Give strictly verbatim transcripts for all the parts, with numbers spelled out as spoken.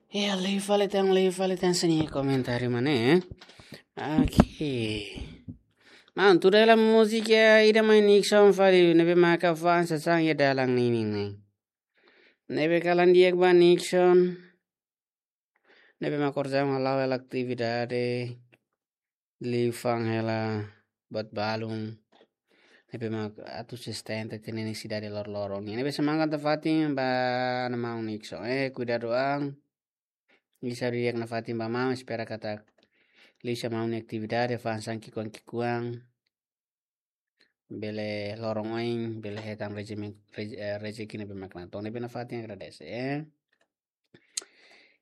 Ya, liu fali tan, liu fali tan sira-nia komentáriu, maun, eh? Oke. Maun, tuir hela múzika ida mai Nixon fali, ne'ebé maka fa'an sasán iha dalan ninin ne'e. Ne'ebé kalan di'ak ba Nixon. Ne'ebé mak orsida hala'o hela atividade. Liu fa'an hela buat balun. Ne'ebé mak atu sustenta ita-nia nesesidade loroloron. Ne'ebé semangat nafatin ba maun Nixon. Eh, kuidadu an. Ita sei di'ak nafatin ba maun, espera katak liuhusi maun nia atividade, fa'an sasán ki'ikoan-ki'ikoan. Bele loron oin, bele hetan rezime-, rez-, eh, rezeki ne'ebé mak natoon, ne'ebé nafatin agradese, eh.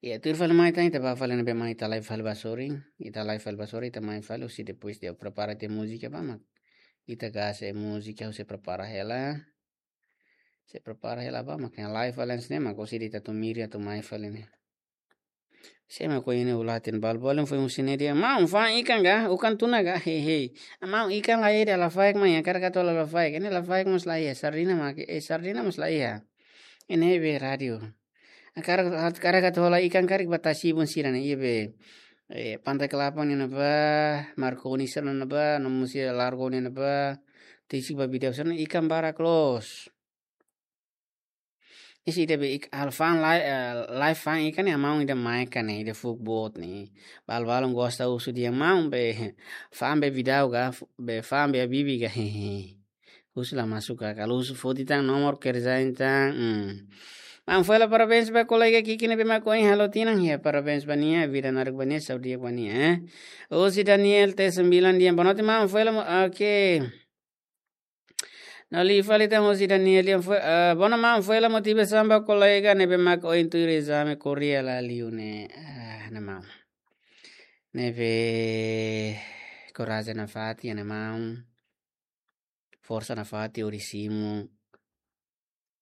Ya, tuir fali mai tan, ita bá fali ne'ebé mai ita live fali ba sorin, ita live fali ba sorin, ita mai fali husi depois de prepara ita-nia múzika ba mak. Ita gase múzika, husi prepara hela. Sei prepara hela ba mak live fali ne'e mak husi ita atu miri atu mai fali ne'e. Sé mak ohin ne'e uluk ita-nia balun-balun foin husi ne'e dehan, maun, fa'an ikan ka, ukun-tuna ka, hehe. Maun, ikan la iha, lafaek mai, hakarak atu hola lafaek. Ne'e lafaek mós la iha, sardina mak, eh, sardina mós la iha. Ne'e be rádiu. Hakarak, hakarak atu hola ikan karik ba tasi-ibun sira ne'e, iha be, eh, Pantai Kelapa ne'ebá, Marconi sira ne'ebá, no mós iha Largo ne'ebá, tesi ba bidau sira ne'e ikan barak loos. Isi ida be ik-, halo fa'an lai-, eh, live fa'an ikan ne'e maun ida mai ikan ne'e, ida fuuk boot ne'e. Balun-balun gosta husu dehan maun be fa'an be bidau ka, fu-, be fa'an be habibi ka, hehe. Husu la masuk ka, kalau husu foti tan nomor kerja tan, hmm. Maun, foin hela parabéns ba kolega Kiki ne'ebé mak ohin halo tinan, ya, parabéns ba nia, vida naruk ba nia, saúde ba nia, eh. Husi Daniel T sembilan dehan, boa noite, maun, foin hela mo-, oke. No liu fali tan husi Daniel dehan foin, eh, boa noite maun, foin hela motivasaun ba kolega ne'ebé mak ohin tuir ezame Korea la liu ne'e. Ah, ne'e maun. Ne'ebé korajen nafatin, ne'e maun. Forsa nafatin, hodi simu.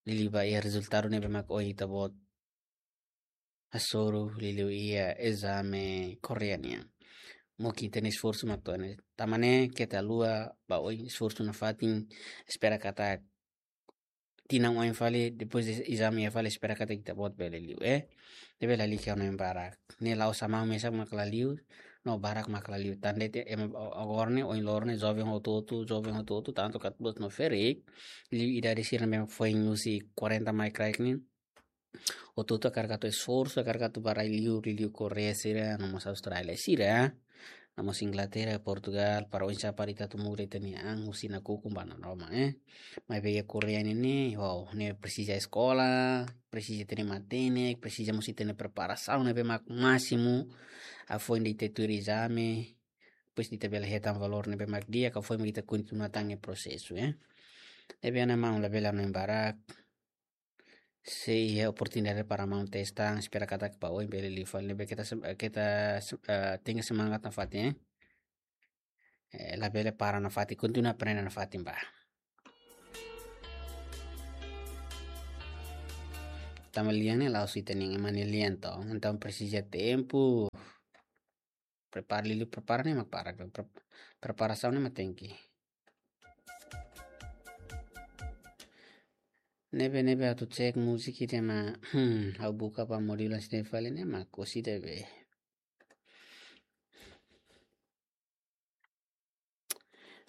Liuliu ba iha rezultadu ne'ebé mak ohin ita-boot hasoru liuliu iha ezame Korea nian. Mungkin ita-nia esforsu mak to'o ne'e. Tanba ne'e keta haluha ba oin esforsu nafatin, espera katak tinan oin fali, depois de ezame iha fali, espera katak ita-boot bele liu, eh. Ne'ebé lalika hanoin barak. Ne'e la'ós maun mesak mak la liu, no barak mak la liu. Tan de'it ema agora ne'e, ohin loron ne'e, joven hotu-hotu, joven hotu-hotu, tantu katuas no ferik, liu idade sira ne'ebé foin husi quarenta mai kraik ne'e. Hotu-hotu hakarak atu esforsu, hakarak atu bá rai liur, liu Korea sira, no mós Austrália sira, no mós Inglaterra, Portugal, para oinsá para ita atu muda ita-nia an husi nakukun ba nanaroman, eh. Maibé iha Korea ne'e, wow, ne'e presiza eskola, presiza ita-nia matenek, presiza mós ita-nia preparasaun ne'ebé mak másimu, hafoin ita tuir ezame, depois ita bele hetan valór ne'ebé mak di'ak, hafoin ita kontinua tan ne'e prosesu, eh. Ne'ebé maun labele hanoin barak, sei iha oportunidade para maun testa, espera katak ba oin bele liu fali, ne'ebé keta sem-, keta sem-, eh, tenke semangat nafatin, eh. Eh, labele para nafatin, kontinua aprende nafatin ba. Tanba lian ne'e la'ós ita-nia ema nia lian to'o, entaun presiza tempu. Prepara, liu prepara ne'e mak para, pre-, preparasaun ne'e mak tenke. Ne'ebé, ne'ebé atu cek múzika ida mak, hmm, ha'u buka ba modul ne'e fali ne'e mak husi ida be.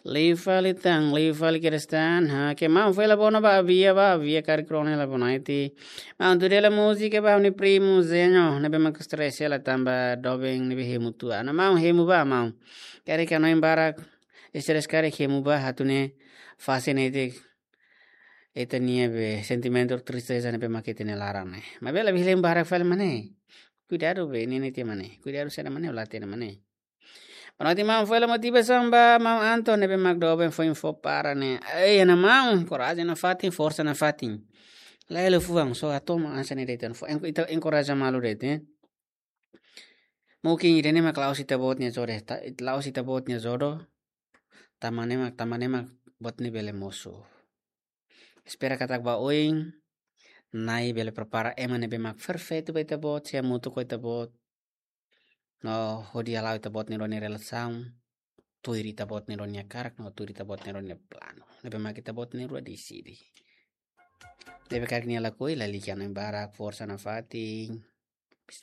Liu fali tan, liu fali kedas tan. Ha, ke maun foin hela bona ba Avia, ba Avia karik rona hela bona iti. Maun, tuir hela múzika ba ha'u-nia primu Zenho, ne'ebé mak stress hela tanba doben ne'ebé hemu tua. Ne'e maun, hemu ba maun. Karik hanoin barak, stress karik hemu ba, atu nune'e fase netik ita-nia be sentimentu tristeza ne'ebé mak iha ita-nia laran ne'e. Maibé labele hemu barak fali mak ne'e. Kuidadu be, ne'e netik mak ne'e. Kuidadu saida mak ne'e, la hatene mak ne'e. Boa noite maun, foin hela motivasaun ba maun Anton ne'ebé mak doben foin fó para ne'e. Ei, ne'e maun, korajen nafatin, forsa nafatin. Lae, lae fuan, só hatama hanesan ne'e de'it, fó en-, ita enkoraja malu de'it, eh. Mungkin ida-ne'e mak la'ós ita-boot nia jodoh, ta-, la'ós ita-boot nia jodoh. Tanba ne'e mak, tanba ne'e mak buat ne'e bele mosu. Espera katak ba oin, Na'i bele prepara ema ne'ebé mak perfeitu ba ita-boot, sei hamutuk ho ita-boot. No hodi hala'o ita-boot nia rua nia relasaun, tuir ita-boot nia rua nia hakarak, no tuir ita-boot nia rua nia planu. Ne'ebé mak ita-boot nia rua deside. Ne'ebé karik nia lakohi, lalika hanoin barak, forsa nafatin.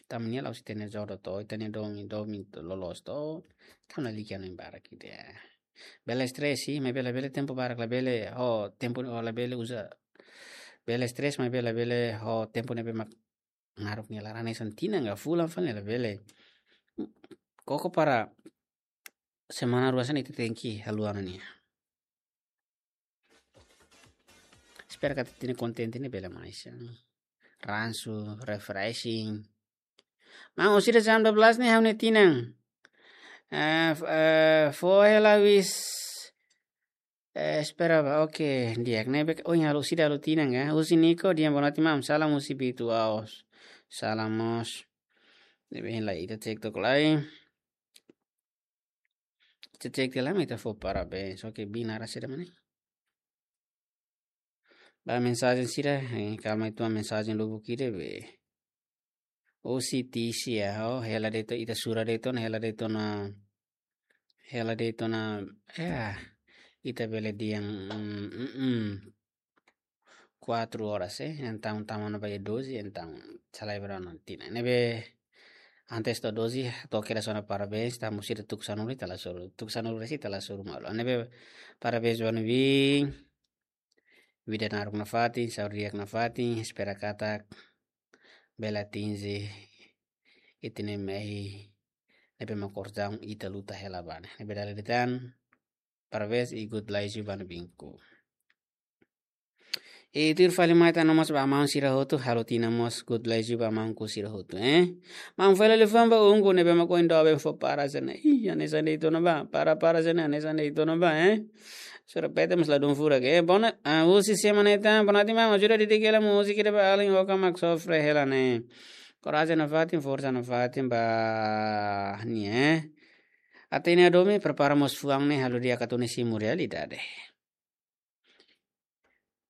Tanba nia la'ós ita-nia jodoh to, ita-nia domin, domin to loloos to. Tanba lalika no embara kita. Bele stress, sih, maibé labele tempu barak, labele, ho, tempu, ho, labele uza. Bele stress, maibé labele, ho, tempu ne'ebé mak naruk nia laran hanesan tinan ka fulan fali labele. Koko para semana rua hanesan ita tenke haluha ona nia. Espera katak ita-nia konten ne'e bele mais, ya. Ransu, refreshing. Maun, husi jam dua belas ne'e ha'u-nia tinan. Eh, f-, eh, fó hela wis, eh, espera ba, oke, di'ak ne'ebé, oh, halo sida halo tinan ka? Husi Niko, di'ak, boa noite, maun. Salam husi Bitu Aos. Salam mós. Ne'ebé la ita cek tok lai. Cek-cek tiha lai mak ita fó parabéns. Oke, bina rasa da mana? Ba mensajen sira, eh, kalma itu mensajen lubuk ida be. Husi Tisia, oh, hela de'it ona, ita sura de'it ona, hela de'it ona, hela de'it ona, ya, ita bele di'ak, mm, mm, mm. Kuatru oras, eh, entaun tama ona ba iha doze, entaun salai berano tina. Ne'ebé antes to'o doze, to'o kedas ona parabéns, tanba sira tuku sanulu ita la soru, tuku sanulu resin ita la soru malu. Ne'ebé parabéns ba ne'ebé, vida naruk nafatin, saúde di'ak nafatin, espera katak bele atinje ita-nia mehi ne'ebé mak orsida ita luta hela ba ne'e. Ne'ebé dala ida tan, parabéns i God bless you ba ne'ebé ku. I tuir fali mai tan no mós ba maun sira hotu, halo tinan mós God bless you ba maun ku sira hotu, eh. Maun fali liafuan ba ungku ne'ebé mak ohin doben fó para hanesan ne'e. Ih, hanesan de'it ona ba, para, para hanesan ne'e, hanesan de'it ona ba, eh. Sura pete mós ladún furak, eh. Bona, ah, husi semana ita, bona ti maun, ajuda didik hela múzika ida ba alin oka mak sofre hela ne'e. Korajen nafatin, forsa nafatin ba nia, eh. Ita-nia domin prepara mós fuan ne'e halo di'ak atu ne'e simu realidade.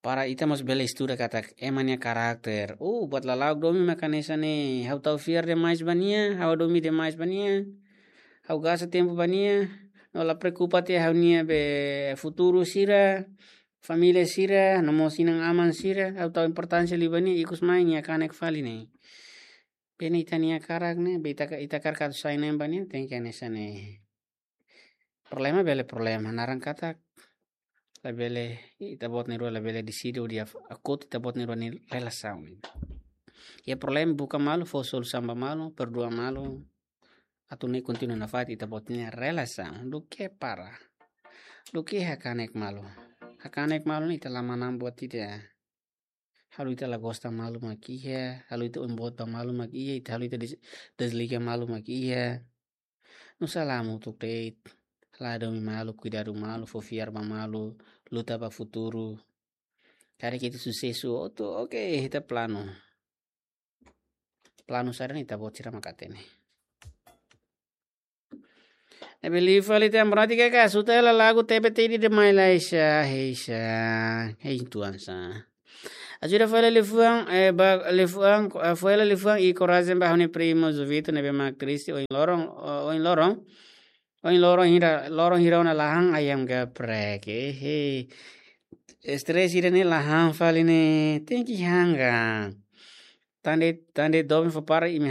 Para ita mós bele estuda katak ema nia karakter. Uh, buat lala'ok domin mak hanesan ne'e, ha'u tau fiar demais ba nia, ha'u domin demais ba nia, ha'u gasta tempu ba nia, no la preokupa tiha ha'u-nia be futuru sira, família sira, no mós inan-aman sira, ha'u tau importánsia liu ba nia, ikus mai nia kanek fali ne'e. Be ne'e ita-nia karak ne'e, be ita ka-, ita karak atu sai ne'e ba nia, tenke hanesan ne'e. Problema bele problema, naran katak labele, ita-boot na'in-rua labele deside hodi af-, akut ita-boot na'in-rua nia relasaun. Iha problema buka malu, fó solusaun ba malu, perdua malu. Atu ne'e kontinua nafatin ita-boot nia relasaun. Duké para. Duké hakanek malu. Hakanek malu ne'e ita la manán buat ida. Halo ita la gosta malu mak iha, halo ita oin-boot ba malu mak iha, ita halo ita des-, desliga malu mak iha. Nusá la hamutuk de'it, la domin malu, kuidadu malu, fó fiar ba malu, luta ba futuru. Karik ita susesu hotu, oke, ita planu. Planu saida ne'e ita-boot sira mak hatene. Ne'ebé liu fali tan, berarti ke ka, suta hela lagu T B T di demais la isa, heisa, hei tuan sa. Ajuda fó hela liafuan, eh, ba, liafuan, eh, fó hela liafuan i korajen ba ha'u-nia primo Jovito ne'ebé mak triste ohin loron, o-, ohin loron. Ohin loron hira, loron hira ona la han ayam geprek, eh, hei. Stress ida ne'e la han fali ne'e, tenke han ka. Tan de'it, tan de'it doben fó para imi